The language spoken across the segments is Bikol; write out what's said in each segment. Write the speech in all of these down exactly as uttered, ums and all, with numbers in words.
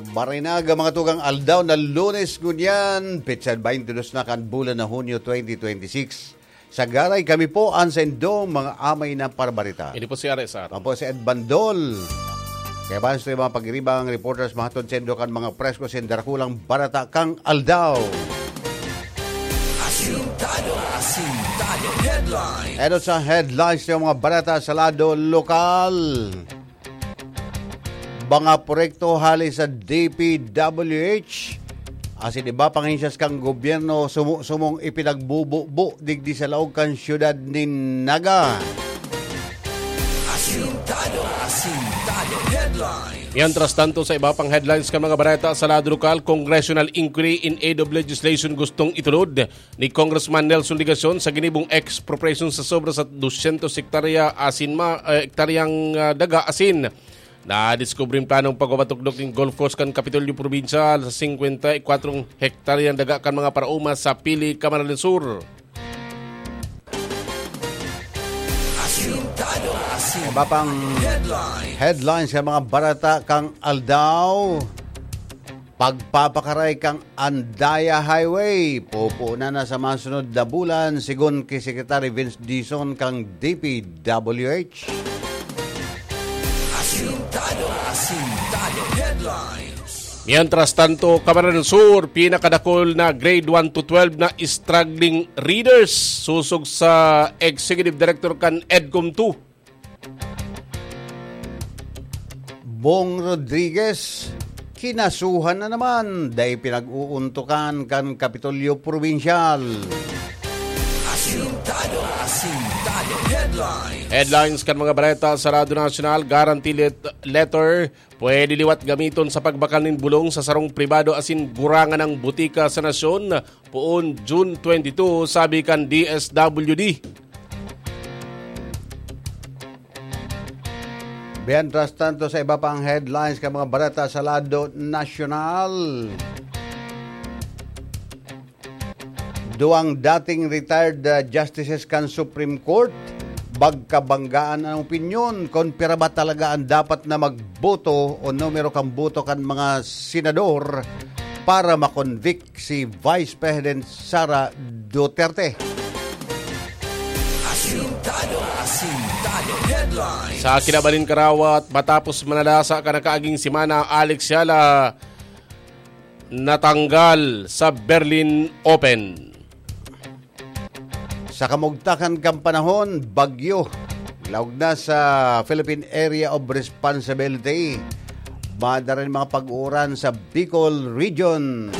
Marhay na aga, mga tugang, aldaw na Lunes ngunyan, petsa twenty-two na kan bulan na Hunyo twenty twenty-six. Sa garay kami po an saindong mga amay na parabarita. Ini po si R S R. Ako po si Ed Bandol. Kaya ba sa mga pagiribang reporters, mahatod saindo kan mga presko sa darakulang barata kang aldaw. Asintado, asintado, headline. Ano sa headlines ng mga barata sa lado lokal? Mga proyekto hali sa D P W H asin iba pang ahensyas kan gobyerno sumo-sumong ipinagbububo digdi sa laog kan siyudad nin Naga. Asintado, asintado, headlines. Mientras tanto, sa iba pang headlines kan mga bareta sa lado lokal, congressional inquiry in aid of legislation gustong itulod ni Congressman Nelson Legacion sa ginibong expropriation sa sobra sa dusyentos hektarya asin ma-, eh, hektaryang, ah, daga asin. Nadiskubre ang planong pagpapatukdok nin golf course kan Kapitolyo Probinsyal sa singkwenta y kwatro hektaryang daga kan mga paraoma sa Pili, Camarines Sur. Asintado, asintado. Iba pang headlines. Headlines sa mga barata kang aldaw. Pagpapakaray kang Andaya Highway, pupunan na sa mga sunod na bulan, sigon ki Secretary Vince Dizon kang D P W H. Asintado, asintado, headlines. Mientras tanto, Camarines Sur, pinakadakol na grade one to twelve na struggling readers, sosog sa Executive Director kan EDCOM two. Bong Rodriguez, kinasuhan na naman, dai pinag-uuntukan kan Kapitolyo Probinsyal. Asintado, asintado, headlines. Headlines kan mga bareta sa Radyo Nasyonal, guarantee let-, letter, pwede liwat gamiton sa pagbakal nin bulong sa sarong pribado asin gurangan ng butika sa nasyon, poon June twenty-two, sabi kan D S W D. Mientras tanto, sa iba pang headlines kan mga bareta sa lado nasyonal, duwang dating retired, ah, justices kan Supreme Court, bagkabanggaan an opinyon kon pira ba talaga an dapat na magboto o numero kan boto kan mga senador para makonvict si Vice President Sara Duterte. Asintado, asintado, headlines. Sa kinaban nin karawat, matapos manalasa kan nakaaging semana, Alex Yala natanggal sa Berlin Open. Sa kamugtakan kan panahon, bagyo. Laog na sa Philippine Area of Responsibility. Madarin mga pag-uuran sa Bicol Region.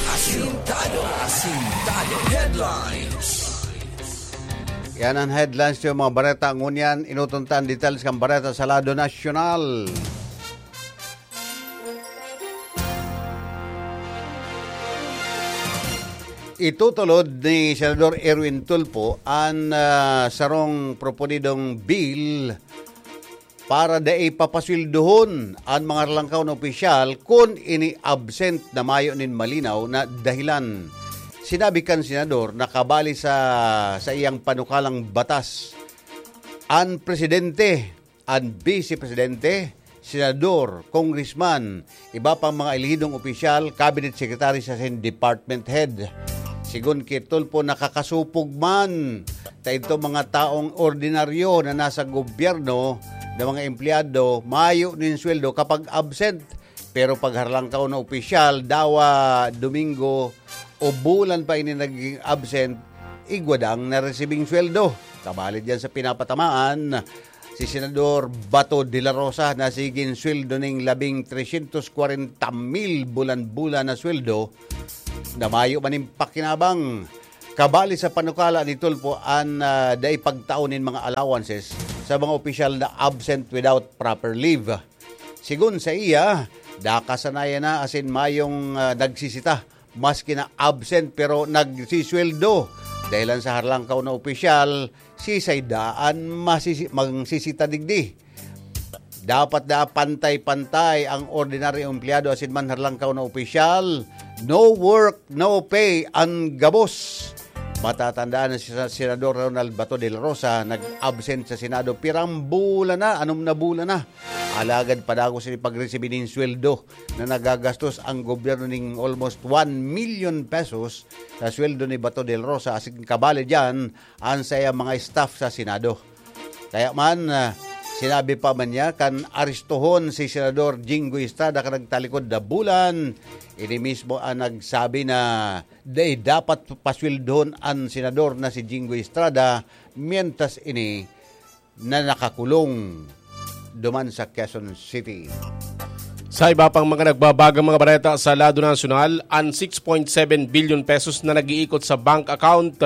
Asintado, asintado, headlines. Yan ang headlines ng mga bareta. Ngunyan, inutuntan details kan bareta sa lado nasyonal. Itutulod ni Senador Erwin Tulfo an, ah, sarong proponidong bill para dai papasweldohon an mga harlangkaw na opisyal kun ini absent na mayo nin malinaw na dahilan. Sinabi kan senador na kabali sa, sa iyang panukalang batas, an presidente, an bise presidente, senador, congressman, iba pang mga elehidong opisyal, cabinet secretary sa sin department head. Sigon ki Tulfo, nakakasupog man ta idto mga taong ordinaryo na nasa gobyerno na mga empleyado mayo nin sweldo kapag absent. Pero pag harlangkaw na opisyal, dawa, Domingo o bulan pa ini nagiging absent, igwa dang naresibing sweldo. Kabali diyan sa pinapatamaan, si Senador Bato de la Rosa na sigin sweldo ning labing tresyentos kwarenta mil bulan-bulan na sweldo na mayo man nin pakinabang. Kabali sa panukala ni Tulfo an, ah, dai pagtao nin mga allowances sa mga opisyal na absent without proper leave. Sigon sa iya, nakasanayan na asin mayong, ah, nagsisita, maski na absent pero nagsisweldo. Dahilan sa harlangkaw na opisyal, sisay daan masisi-, magsisita digdi. Dapat da pantay-pantay ang ordinaryong empleyado asin man harlangkaw na opisyal. No work, no pay, an gabos. Matatandaan na si Sa-, Senador Ronald Bato de la Rosa nag-absent sa Senado pirang bulan na, anom na bulan na. Alagad padagos ini pagresibi nin sweldo na nagagastos ang gobyerno ning almost one million pesos sa sweldo ni Bato del Rosa, asin kabali diyan ang saiyang mga staff sa Senado. Kaya man, ah, sinabi pa man niya kan aristohon si Senador Jinggoy Estrada kan nagtalikod na bulan, ini mismo ang nagsabi na dai dapat pasweldohon an senador na si Jinggoy Estrada, mientras ini na nakakulong duman sa Quezon City. Sa iba pang mga nagbabagang mga bareta sa lado nasyonal, ang six point seven billion pesos na nag-iikot sa bank account,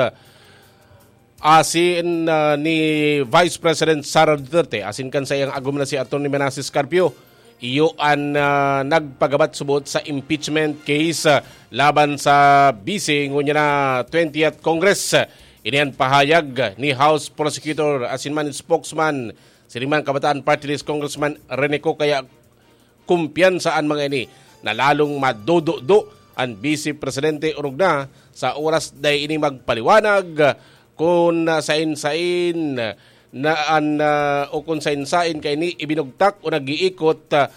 asin, ah, ni Vice President Sara Duterte, asin kan saiyang agom na si Attorney Manases Carpio, iyo an, ah, nagpagabat subot sa impeachment case, ah, laban sa vice ngunyan na twentieth Congress. Ini an pahayag ni House Prosecutor asin man spokesman siring man Kabataan Party List Congressman Rene Co. Kaya kumpiyansa an mga ini na lalong madududo an Vice Presidente orog na sa oras dai ini magpaliwanag kun sain-sain na an, ah, o kun sain-sain kaini ibinugtak o nag-iikot, ah,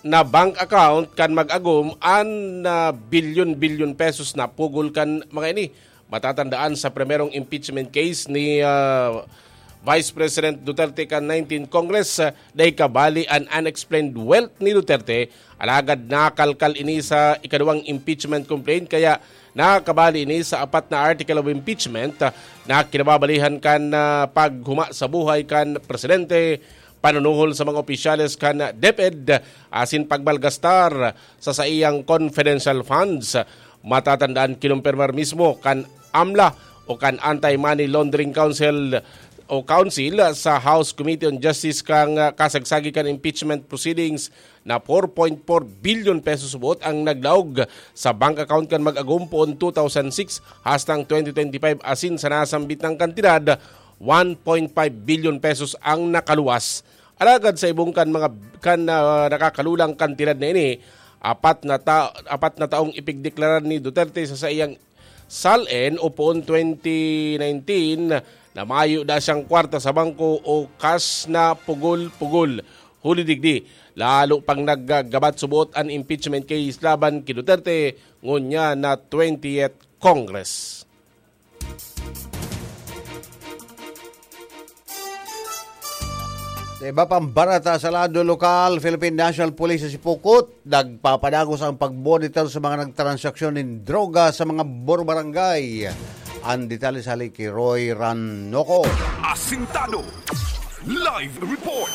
na bank account kan mag-agom an, ah, bilyon-bilyon pesos na pugol kan mga ini. Matatandaan sa primerong impeachment case ni, ah, Vice President Duterte kan nineteenth Congress, ah, dai kabali an unexplained wealth ni Duterte, alagad nakalkal ini sa ikaduwang impeachment complaint, kaya nakabali ini sa apat na article of impeachment, ah, na kinababalihan kan, ah, paghuma sa buhay kan presidente, panunuhol sa mga opisyales kan DepEd, asin pagmalgastar sa saiyang confidential funds. Matatandaan, kinumpirmar mismo kan AMLA o kan Anti-Money Laundering Council o Council sa House Committee on Justice kan, ah, kasagsagi kan impeachment proceedings na four point four billion pesos buot ang naglaog sa bank account kan mag-agom poon two thousand six hastang twenty twenty-five, asin sa nasambit na kantidad, one point five billion pesos ang nakaluwas. Alagad sa ibong kan mga, kan, ah, nakakalulang kantidad na ini, apat na ta-, apat na taong ipigdeklarar ni Duterte sa saiyang SALN o poon twenty nineteen na mayo na siyang kwarta sa bangko o cash na pugol-pugol. Huli digdi, lalo pang naggabat subot an impeachment case laban ki Duterte ngunyan na twentieth Congress. Sa iba pang barata sa lado lokal, Philippine National Police sa Sipocot, nagpapadagos ang pagmonitor sa mga nagtransaksyon nin droga sa mga bor-, barangay. Ang detalye sa hali ki Roy Ranoco. Asintado. Live report.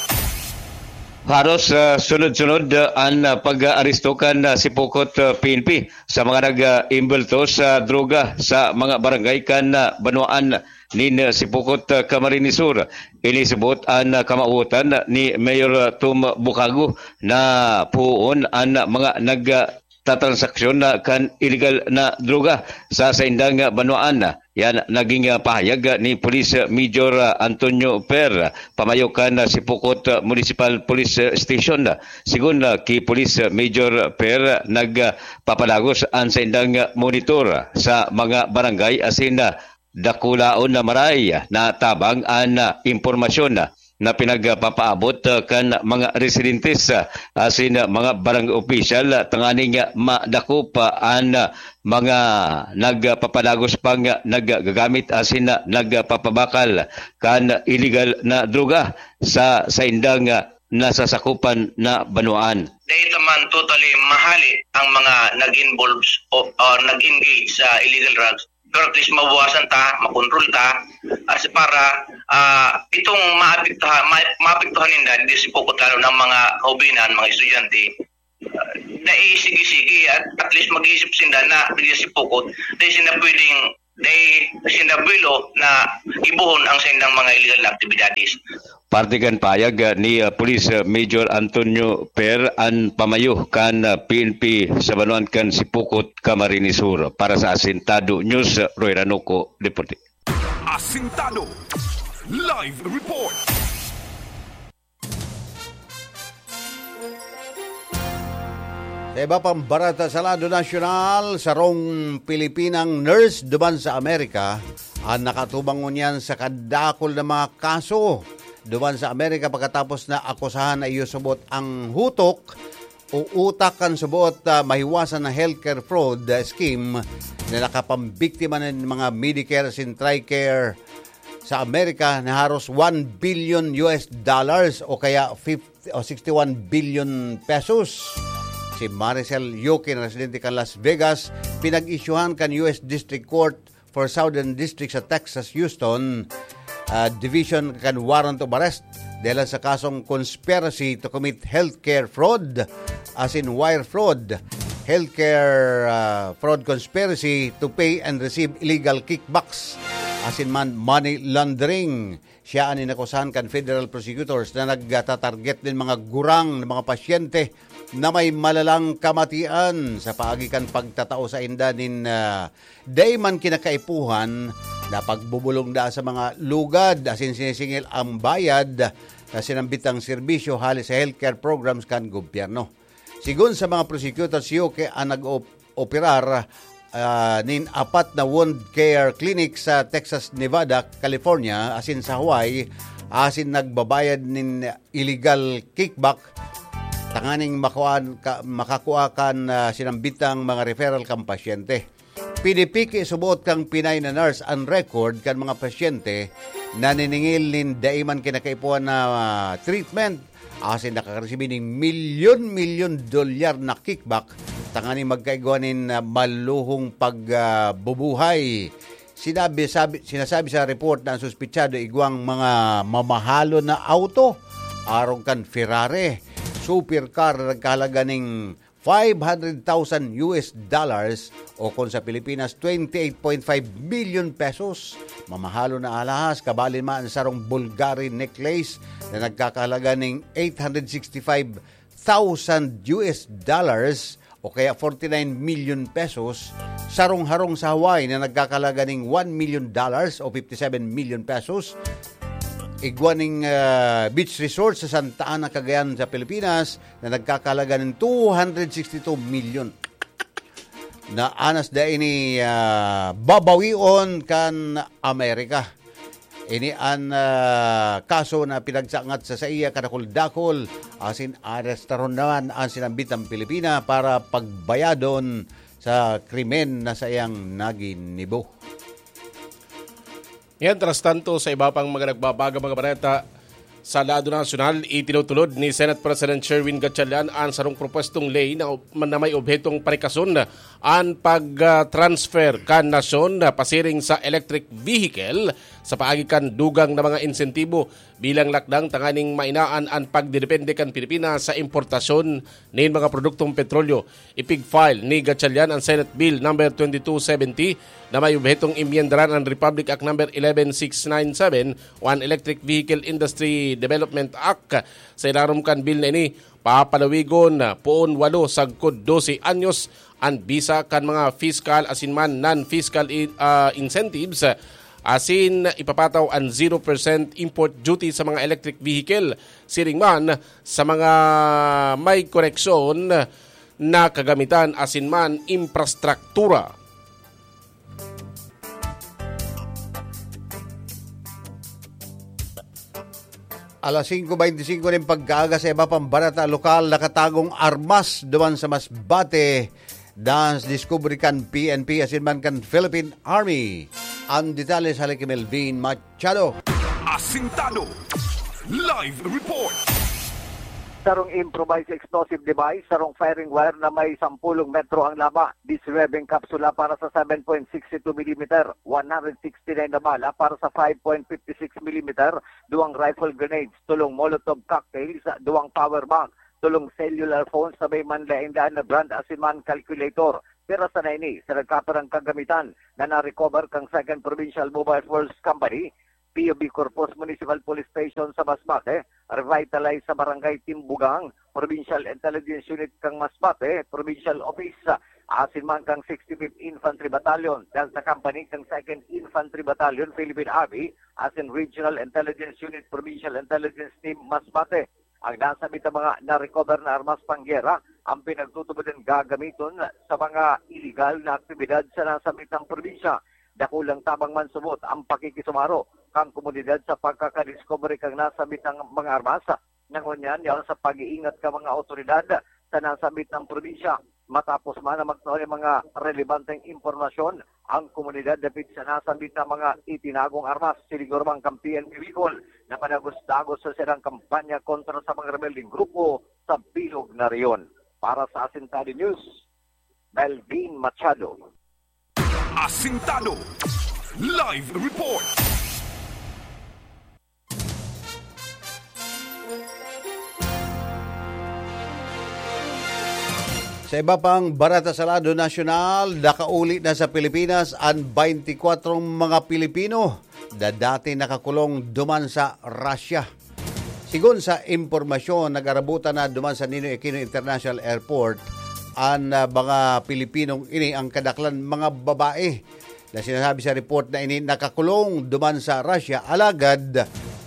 Haros, ah, sunod-sunod, ah, an, ah, pag-aaresto kan, ah, Sipocot, ah, P N P sa mga nag-, ah, imbulto sa droga sa mga barangay kan, ah, banwaan nin, ah, Sipocot, ah, Camarines Sur. Inisabot an, ah, kamawotan ni Mayor, ah, Tom Bukago na poon an, ah, mga nag, ah, tatransaksyon na kan iligal na droga sa saindang banwaan. Yan naging, ah, pahayag, ah, ni Police Major, ah, Antonio Per, pamayo kan, ah, Sipocot, ah, Municipal Police, ah, Station. Sigon, ah, ki Police Major Per, nagpapalagos an saindang, ah, monitor sa mga barangay asin, ah, dakulaon na maray na tabang an, ah, impormasyon, ah, na pinagpapaabot, ah, kan mga residentes, ah, asin, ah, mga barangay opisyal, ah, tanganing, ah, madakop, ah, an, ah, mga nagpapalagos pang, ah, naggagamit asin, ah, nagpapabakal kan iligal na droga sa saindang, ah, nasasakupan na banwaan. Dahil naman totally mahali ang mga nag-involve o, o nag-engage sa illegal drugs. Pero at least mabawasan ta, makontrol ta. As para, ah, itong maapektuhan, ma-, maapektuhan ninda, di si Pokot, lalo ng mga kaubinan, mga estudyante, ah, naisigi-sigi at at least mag-iisip sinda na di si Pokot, dahil sila pwedeng, dahil sila buwelo na ibuhon ang sendang mga illegal na aktibidades. Parte kan payag, ah, ni, ah, Police, ah, Major Antonio Per an pamayo kan, ah, P N P sa banwaan kan Sipocot, Camarines Sur. Para sa Asintado News, Roy Ranuco, Deporte. Asintado. Live report. Sa iba pang barata sa lado nasyonal, sarong Pilipinang nurse duman sa Amerika an nakatubang ngunyan sa kadakul na mga kaso duman sa Amerika pagkatapos na akusahan na iyo subot ang hutok o utak kan subot, ah, mahiwasan na healthcare fraud, ah, scheme na nakapambiktima nin mga Medicare asin TRICARE sa Amerika na haros one billion U S dollars o kaya fifty o sixty-one billion pesos. Si Maricel Yoque na residente kan Las Vegas, pinag-isyuhan kan U S District Court for Southern District sa Texas, Houston, ah, Division kan warrant of arrest dahil sa kasong conspiracy to commit healthcare fraud, asin wire fraud, healthcare, ah, fraud conspiracy to pay and receive illegal kickbacks, asin man money laundering. Siya an inakusahan kan federal prosecutors na nagtatarget nin mga gurang na mga pasyente na may malalang kamatian sa paagi kan pagtatao sainda nin, ah, dai man kinakaipuhan na pagbubolong daa sa mga lugad asin sinisingil ang bayad sa sinambitang serbisyo hali sa healthcare programs kan gobyerno. Sigon sa mga prosecutor, si Yoque an nag-operar, ah, nin apat na wound care clinic sa Texas, Nevada, California, asin sa Hawaii, asin nagbabayad nin illegal kickback tanganing makuhaan ka, makakua kan, ah, sinambitang mga referral kan pasyente. Pinipiki subot kan Pinay na nurse an record kan mga pasyente na niningil nin dai man kinakaipuhan na, ah, treatment, asin nakakaresibi nin milyon-milyon dolyar na kickback tanganing magkaigwa nin, ah, maluhong pag, ah, bubuhay. Sinabi, sabi, sinasabi sa report na ang suspitsado igwang mga mamahalon na auto, arog kan Ferrari, supercar na nagkahalaga ning five hundred thousand U S dollars o kung sa Pilipinas, twenty-eight point five million pesos. Mamahalon na alahas, kabali man ang sarong Bulgari necklace na nagkakahalaga ning eight hundred sixty-five thousand U S dollars o kaya forty-nine million pesos, sarong harong sa Hawaii na nagkakahalaga ning one million dollars o fifty-seven million pesos, igwa ning, ah, beach resort sa Santa Ana, Cagayan sa Pilipinas na nagkakahalaga ning two hundred sixty-two million. Na anas da ini, ah, babawion kan Amerika. Ini an, ah, kaso na pinagsangat sa saiya kadakul-dakul, asin arestaron naman an sinambitang Pilipina para pagbayadon sa krimen na saiyang naginibo. Mientras tanto, sa iba pang mga nagbabaga mga bareta, sa lado nasyonal, itinutulod ni Senate President Sherwin Gatchalian an sarong propwestong ley na, na may obhetong parikason an pag-transfer kan nasyon pasiring sa electric vehicle sa paagi kan dugang na mga insentibo bilang lakdang tanganing mainaan an pagdedepende kan Pilipinas sa importasyon nin mga produktong petrolyo. Ipig-file ni Gatchalian an Senate Bill number twenty-two seventy na may obhetong emyendaran an Republic Act number eleven six nine seven o an Electric Vehicle Industry Development Act. Sa ilarom kan bill na ini, papalawigon poon walo sagkod dose anyos an bisa kan mga fiscal asin man non-fiscal i-, ah, incentives, asin ipapataw an zero percent import duty sa mga electric vehicle, siring man sa mga may koneksyon na kagamitan asin man infrastruktura. Alas singko beinti singko nin pagkaaga, sa iba pang bareta lokal, nakatagong armas duman sa Masbate, das diskubre kan P N P asin man kan Philippine Army. Ang detalye sa hali ki Melvin Machado. Asintado. Live report. Sarong improvised explosive device, sarong firing wire na may sampulong metro ang laba, dissolving kapsula para sa seven point six two millimeter, one hundred sixty-nine na bala para sa five point fifty six millimeter, duwang rifle grenades, tolong Molotov cocktails, duwang power bank, tolong cellular phones na may manlaen-laen na brand asin man calculator. Pira sana ini sa nagkapirang kagamitan na na-recover kan Second Provincial Mobile Force Company, P O B Corpus Municipal Police Station sa Masbate, revitalized sa Barangay Timbugang, Provincial Intelligence Unit kan Masbate, Provincial Office, asin man kan sixty-fifth Infantry Battalion, Delta Company kan Second Infantry Battalion, Philippine Army, asin Regional Intelligence Unit, Provincial Intelligence Team, Masbate. Ang nasabit na mga na-recover na armas panggera ang pinagtutubod na gagamiton sa mga iligal na aktibidad sa nasabitang probinsya. Dakulang tabang man subot ang pakikisumaro kan komunidad sa pagkakadiskubre kan nasabitang mga armas. Ngunyan, yaon sa pag-iingat kan mga awtoridad sa nasabitang probinsya. Matapos man na magtao nin mga relebanteng impormasyon ang komunidad dapit sa nasabitang mga itinagong armas, siniguro man kan P N P Bicol na padagos-dagos sa saindang kampanya kontra sa mga rebeldeng grupo sa bilog na rehiyon. Para sa Asintado News, Melvin Machado. Asintado Live Report. Sa iba pang barata sa lado nasyonal, nakauli na sa Pilipinas an twenty-four mga Pilipino na dati nakakulong duman sa Russia. Sigon sa impormasyon, nag-arabutan na duman sa Ninoy Aquino International Airport an, ah, mga Pilipinong ini, ang kadaklan mga babae na sinasabi sa report na ini nakakulong duman sa Russia. Alagad,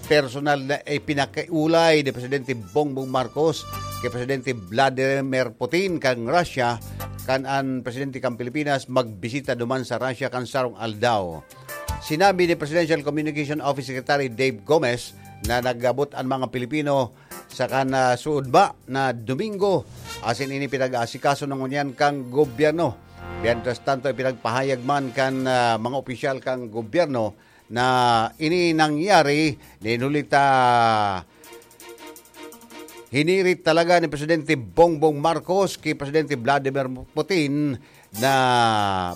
personal na ipinakiulay ni Presidente Bongbong Marcos kay Presidente Vladimir Putin kan Russia kan an presidente kan Pilipinas magbisita duman sa Russia kan sarong aldaw. Sinabi ni Presidential Communication Office Secretary Dave Gomez na nag-abot an mga Pilipino sa kan, ah, suodma na Domingo, asin ini pinag-aasikaso na ngunyan kan gobyerno. Mientras tanto, ipinagpahayag man kan, ah, mga opisyal kan gobyerno na ini nangyari nin huli ta hinirit talaga ni Presidente Bongbong Marcos ki Presidente Vladimir Putin na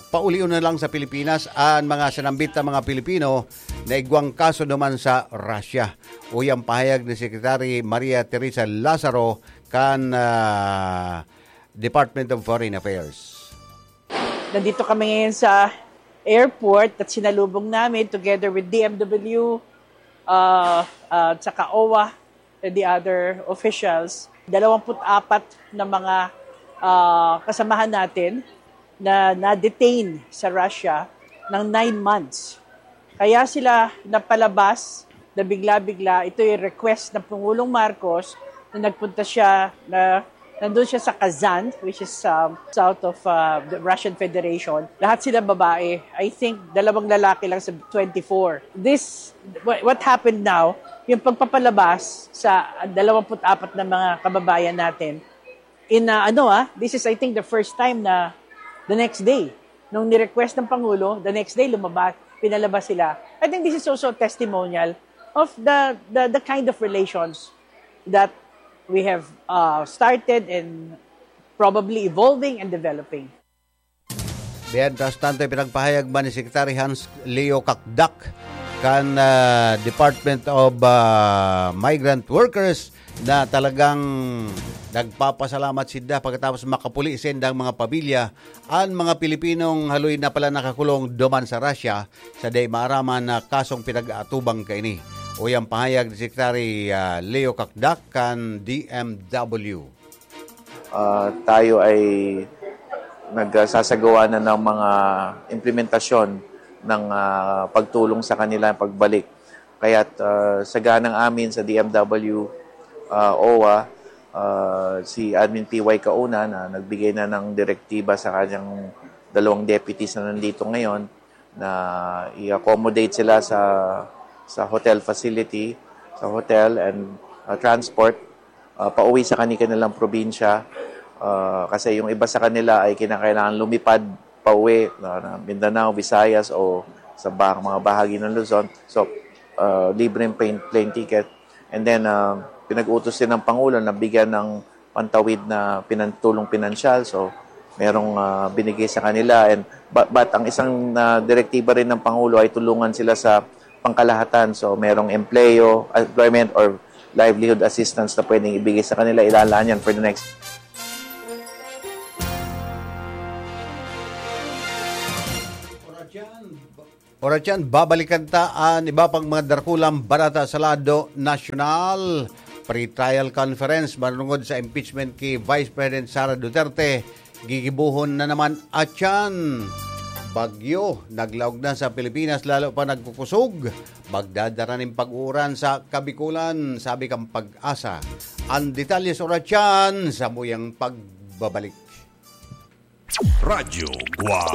paulion na lang sa Pilipinas an mga sinambit na mga Pilipino na igwang kaso duman sa Russia. Uya an pahayag ni Secretary Maria Teresa Lazaro kan, ah, Department of Foreign Affairs. Nandito kami ngayon sa airport at sinalubong namin together with D M W, uh, uh, at saka O W A and the other officials. Dalawampu't apat na mga, uh, kasamahan natin na na-detain sa Russia ng nine months. Kaya sila napalabas na bigla-bigla. Ito yung request ng Pangulong Marcos na nagpunta siya, na nandun siya sa Kazan, which is, um, south of, uh, the Russian Federation. Lahat sila babae. I think dalawang lalaki lang sa twenty-four. This, what, what happened now, yung pagpapalabas sa dalawampu't apat na mga kababayan natin, in, uh, ano, ah, this is, I think, the first time na the next day, nung ni-request ng Pangulo, the next day, lumabas, pinalabas sila. I think this is also a testimonial of the, the, the kind of relations that we have, uh, started and probably evolving and developing. Mientras tanto, ipinagpahayag man ni Secretary Hans Leo Cacdac kan, ah, Department of, ah, Migrant Workers na talagang nagpapasalamat sinda pagkatapos makapuli sa indang mga pamilya an mga Pilipinong haloy na pala nakakulong duman sa Russia sa dai maaraman na kasong pinag-aatubang kaini. Uya an pahayag ni Secretary, ah, Leo Cacdac kan D M W. Ah, tayo ay nagsasagawa na ng mga implementasyon ng, ah, pagtulong sa kanila pagbalik. Kaya't, ah, sa ganang amin sa D M W, ah, O W A, ah, si Admin P Y Kauna na nagbigay na ng direktiba sa kanyang dalawang deputies na nandito ngayon na i-accommodate sila sa, sa hotel facility, sa hotel and, ah, transport, ah, pauwi sa kani-kanilang probinsya. Ah, kasi yung iba sa kanila ay kinakailangan lumipad pauwi na, na Mindanao, Visayas o sa ba-, mga bahagi ng Luzon. So, ah, libreng plane, plane ticket. And then, ah, pinag-utos din ng Pangulo na bigyan ng pantawid na pinan-, tulong pinansyal. So, merong, ah, binigay sa kanila. And, but, but ang isang, ah, direktiba rin ng Pangulo ay tulungan sila sa pangkalahatan. So, merong empleyo, employment or livelihood assistance na pwedeng ibigay sa kanila. Ilalaan yan for the next. Oras yan, babalikan ta an iba pang mga darakulang barata sa lado nasyonal. Pre-trial conference manungod sa impeachment ki Vice President Sara Duterte. Gigibohon na naman atyan. Bagyo, naglaog na sa Pilipinas, lalo pa nagkukusog. Magdadara nin pag-uuran sa Kabikulan, sabi kan Pag-asa. An detalye sa oras yan, sa muyang pagbabalik. Radyo Guwang.